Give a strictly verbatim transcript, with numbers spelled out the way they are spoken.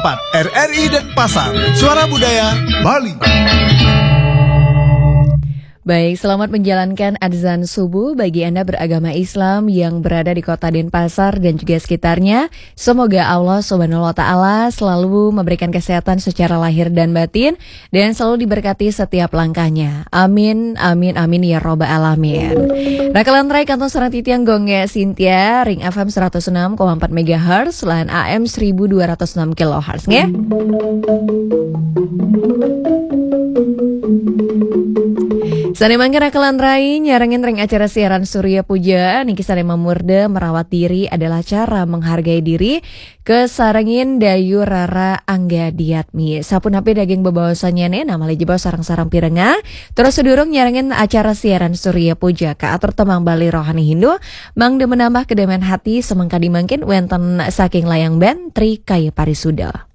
empat, R R I Denpasar, Suara Budaya Bali. Baik, selamat menjalankan adzan subuh bagi Anda beragama Islam yang berada di kota Denpasar dan juga sekitarnya. Semoga Allah Subhanahu wa Ta'ala selalu memberikan kesehatan secara lahir dan batin dan selalu diberkati setiap langkahnya. Amin, amin, amin ya robbal alamin. Rakalan rai kantun sareng titiang Gongge Sintia, ring F M seratus enam koma empat megahertz, lan A M seribu dua ratus enam kilohertz, nggih. Sane mangke rakalan rai nyarengin ring acara siaran Surya Puja niki sane mamurda merawat diri adalah cara menghargai diri, kasarengin Dayu Rara Angga Diatmi. Sapunapi daging bebaosannyane, namale jebos sareng-sareng pirengah. Terus sedurung nyarengin acara siaran Surya Puja, kaatur tembang Bali rohani Hindu, mangda menambah kedamaian hati, semengkadi mangkin wenten saking layang band Tri Kaya Parisuda.